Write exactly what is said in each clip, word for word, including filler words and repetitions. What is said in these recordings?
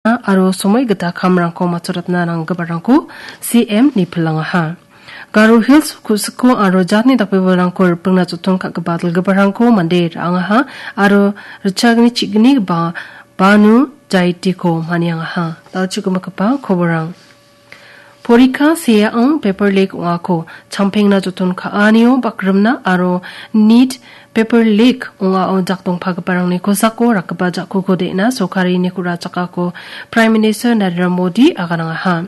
aro somoi gita kamrangko matchoratna nanggiparangko C M-ni pilangaha. Garo Hills ku·siko aro jatni dakbebalrangko ripengna joton ka·gipa dilgiparangko mande ra·angaha aro ritchagni chi·gnigipa Banu Jaitiko maniangaha. Dalchi gimigipa koborang. Porikha seaong paper leak ong·ako champengna joton ka·anio bakrimna aro nit paper leak ong·ao jakdongpagiparangni kosako rakgipa ja·kuko de·na sorkarini ku·ra chakako Prime Minister Narendra Modi aganangaha.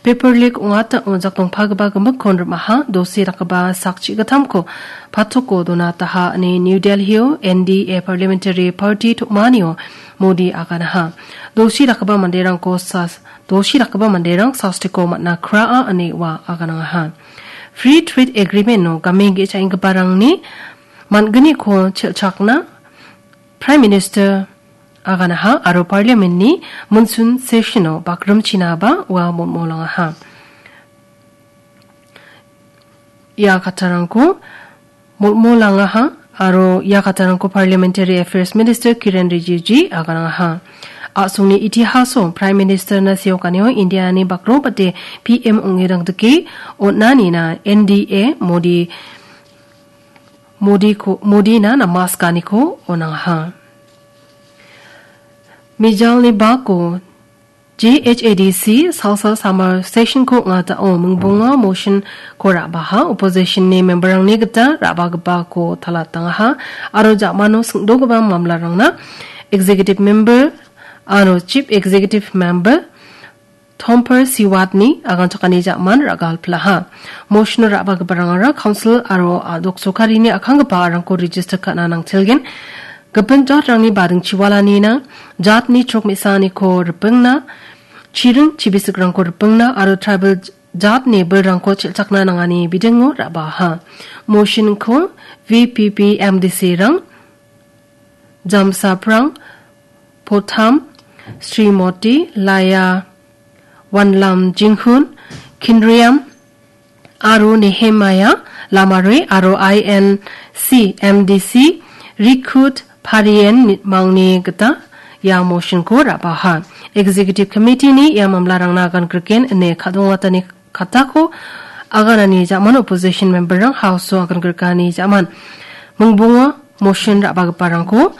Paper leak ong·atao jakdongpagipa gimikkon rim·aha, dosi dakgipa sak chi·gittamko patoko donataha ine New Delhi-o N D A Parliamentary Party tom·anio Modi aganaha. Dosi dakgipa manderangko sas-, dosi dakgipa manderang sastiko man·a kraa ine ua aganangaha. Free Trade Agreement-o game ge·chaenggiparangni man·gniko chelchakna Prime Minister aganaha aro Parliament-ni monsoon session-o bakrimchinaba ua molmolangaha. Ia kattarangko molmolangaha aro ia kattarangko Parliamentary Affairs Minister Kiren Rijiju aganangaha. A·songni itihaso Prime Minister-na seokanio India-ni bakrobate P M ong·erang dike on·anina N D A Modi, Modiko, Modina namaskaniko on·angaha. Mijalni bako J H A D C Salsa Summer Session-ko ong·atao mingbonga motion-ko ra·baha, opposition-ni member-rangni gita ra·bagipako talatangaha aro ja·mano singdogipa mamlarangna Executive Member aro Chief Executive Member Tomper Siwatni aganchakani ja·man ra·galpilaha. Motion-o ra·bagiparangara council aro a·dok sorkarini akanggipa arangko register ka·na nangchelgen. Gipin jatrangni badingchiwalanina jatni chrok me·saniko ripengna, chiring chibisikrangko ripengna aro tribal jatni bilrangko chelchakna nangani bidingo ra·baha. Motion-ko V P P M D C-rang, Jamsaprang, Potham, Srimoti, Laya, Wanlam Jinghun, Kinriam, aro Nehemiah Lamare aro I N C M D C Rikut Parien mangni gita ia motion-ko ra·baha. Executive Committee-ni ia mamlarangna agan griken ine kadongatani katako aganani ja·man opposition member-rang House-o agan grikani ja·man mingbonga motion ra·bagiparangko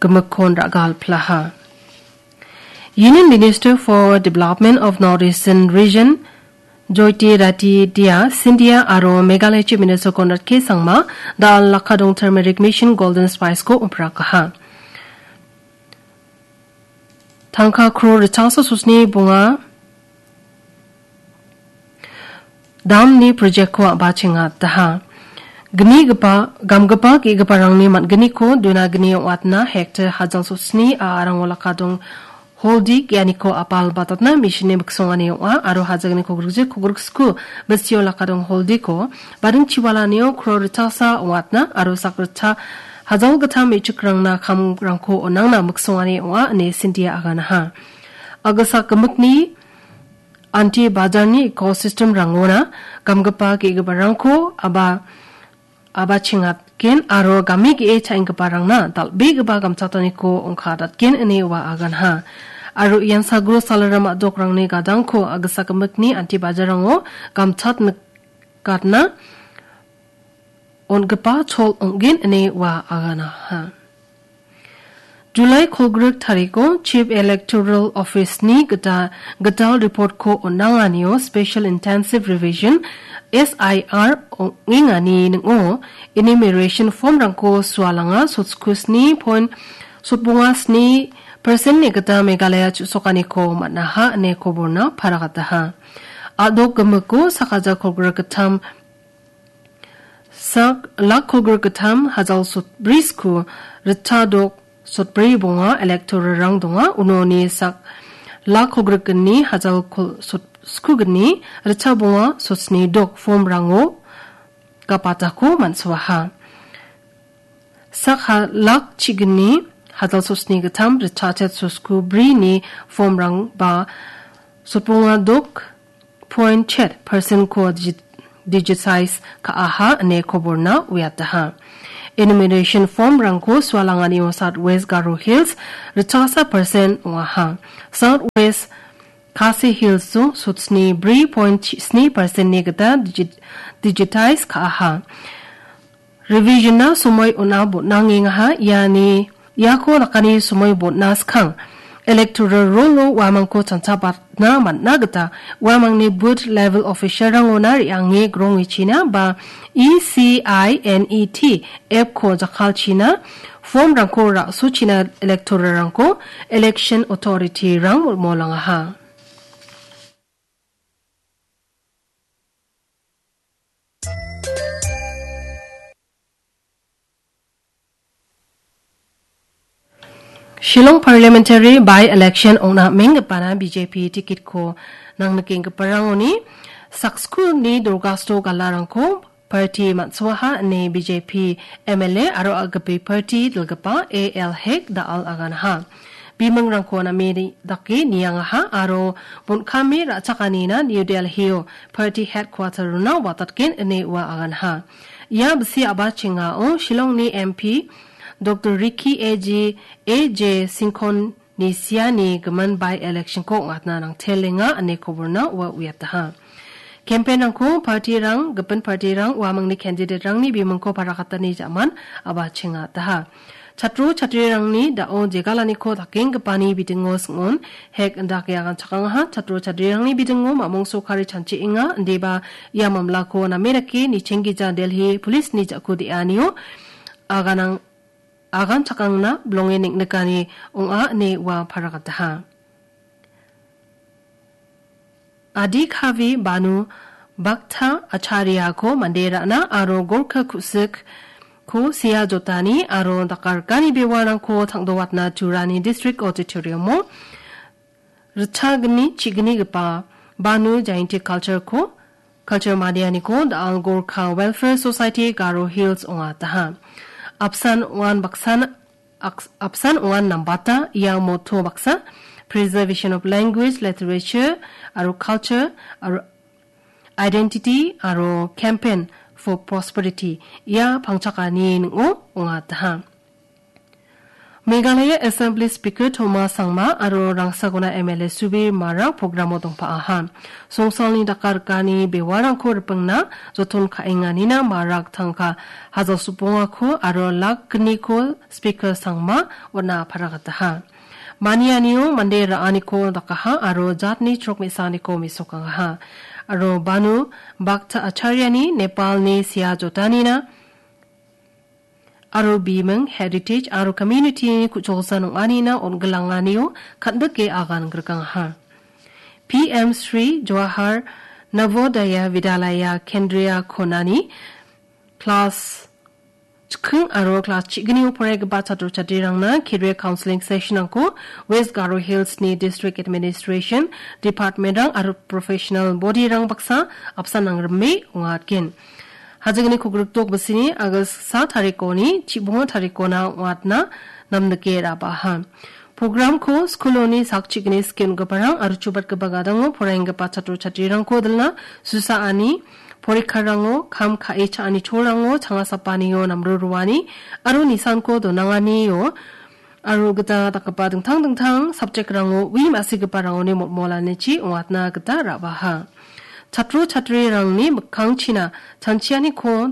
gimikkon ra·galpilaha. Union Minister for Development of Northeastern Region Jyotiraditya Scindia aro Meghalaya Chief Minister Conrad K Sangma da·al Lakadong Turmeric Mission Golden Spice-ko omprakaha. Tangka crore ritchasa sosni bonga damni project-ko a·bachengataha. Gnigipa, gamgipa ge·giparangni man·gniko duna gni ong·atna hektar hajal sosni a·arango Lakadong Holdi ge·aniko apal batatna mission-ni miksongani ong·a aro hajalgniko grikje kogriksko bisio Lakadong Holdiko bading chiwalanio crore ritchasa ong·atna aro sakritcha hajal gittam me·chikrangna kamrangko on·angna miksongani ong·a ine Scindia aganaha. Agilsak gimikni Anti Bajarni ecosystem-rangona gamgipa ge·giparangko aba-, abachengatgen aro game ge·e cha·enggiparangna dal·begipa gamchataniko ongkadatgen ine ua aganha. Aro ian sagro salaram a·dokrangni gadangko agilsak gimikni Anti Bajarrango gamchat nikatna on·gipa chol ong·gen ine ua aganaha. July kolgrik tariko Chief Electoral Office-ni gita gital report-ko on·anganio Special Intensive Revision, S I R, ong·engani ning·o enumeration form-rangko sualanga sotchkusni point sotbonga sni percent-ni gita Meghalaya chu·sokaniko man·aha ine koborna paragataha. A·dok gimiko sak hajar kolgrik gittam Sak lak kolgrik gittam hajal sotbri sku ritchadok sotbri bonga electoral-rang donga. Unoni sak lak kolgrik gni hajal kol-, sot-, sku gni ritcha bonga sotsni dok form-rango gapatako man·soaha. Sak ha-, lak chigni hajal sotsni gittam ritchachet sosku brini form-rang ba sotbonga dok point chet percent-ko digi-, digitize ka·aha ine koborna uiataha. enumeration form-rangko sualanganio South West Garo Hills ritchasa percent ong·aha. South West Khasi Hills-o sutsni bri point sni percent-ni gita digi-, digitize ka·aha. Revision-na somoi on·a botnangengaha, iani, iako dakani somoi botna skang. Electoral roll-o uamangko chanchabatna man·na gita uamangni booth level official-rangona re·ange grongechina ba E C I N E T app-ko jakkalchina, form-rangko ra·sochina electoral-rangko election authority-rang molmolangaha. Shillong Parliamentary by-election ong·na am·enggipana B J P ticket-ko nangnikenggiparangoni sakskulni dorgasto galarangko party man·soaha ine B J P M L A aro a·gipi party dilgipa A L Hek da·al aganaha. Bimingrangko name dake niangaha aro bon·kame ra·chakanina New Delhi-o party headquarter-ona watatgen ine ua aganaha. Ia bisi a·bachengao Shillongni M P Doctor Ricky A J, A J Singkonni siani gimin by-election-ko ong·atna nangtelenga ine koborna ua uiataha. Campaign-rangko party-rang, gipin party-rang uamangni candidate-rangni bimingko parakatani ja·man a·bachengataha. Chatro chatrirangni da·o jegalaniko dakenggipani bidingo sing·on, Hek indake aganchakangaha. Chatro chatrirangni bidingo mamung sokari chanchienga, indiba ia mamlako name dake nichenggija Delhi police-ni ja·ko de·anio aganang-, aganchakangna bilonge neng·nikani ong·a ine ua parakataha. Adi Kavi Banu Bhakta Acharya-ko mande ra·na aro Gorkha Kusikko sea jotani aro dakarkani bewarangko tangdowatna Turani District Auditorium-o ritchagni chignigipa Banu Jayanti Culture-ko, Culture Madianiko da·al Gorkha Welfare Society Garo Hills ong·ataha. Apsan ong·an baksan, aks-, apsan ong·an nambata ia motto baksa, Preservation of Language, Literature, aro Culture, aro Identity, aro Campaign for Prosperity ia pangchakani ning·o ong·ataha. Meghalaya Assembly Speaker Thomas Sangma aro Rangsagona M L A Subir Marak program-o dongpa·aha. Songsalni dakarkani bewarangko ripengna joton ka·enganina Marak tangka hajal sopongako aro lak gniko Speaker Sangma on·a aparagataha. Manianio mande ra·aniko dakaha aro jatni chrok me·saniko mesokangaha. Aro Banu Bhakta Acharyani Nepalni sea jotanina aro biming, heritage aro community-ni ku·cholsan ong·anina on·gilanganio kan·bike agan grikangaha. P M Shri Jawahar Navodaya Vidyalaya Kendriya Konani class chiking aro class chignio poraigipa chatro chatrirangna career counseling session-rangko West Garo Hills-ni District Administration, Department-rang aro professional body-rang baksa apsan nangrime ong·atgen. Hajigni kogrikdok bisini August sa tarikoni chibonga tarikona ong·atna namnike ra·baha. Programko skuloni sakchigni skengiparang aro chubatgipa gadango poraienggipa chatro chatrirangko dilna susaani porikkarango, kam ka·e cha·ani cholrango, changa sapanio namro roani aro nisanko donanganio aro gita dakgipa dingtang dingtang subject-rango ui ma·sigiparangoni motmolanichi ong·atna gita ra·baha. Chatro chatrirangni mikkangchina chanchianiko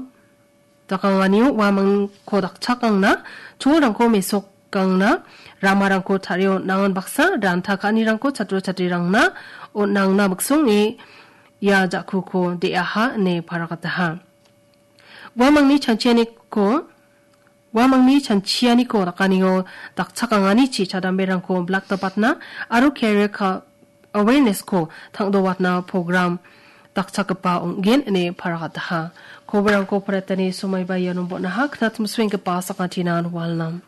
dakanganio uamangko dakchakangna, cholrangko mesokangna, ramarangko tarie on·angan baksa ranta ka·anirangko chatro chatrirangna on·angna miksonge ia ja·kuko de·aha ine paragataha. Uamangni chanchianiko Uamangni chanchianiko dakanio dakchakanganichi chadamberangko blakdapatna aro career ka-, awareness-ko tangdowatna program dakchakgipa ong·gen ine paragataha. Koborangko paratani somaiba iano bon·aha, knatmswenggipa sakantinan walnam.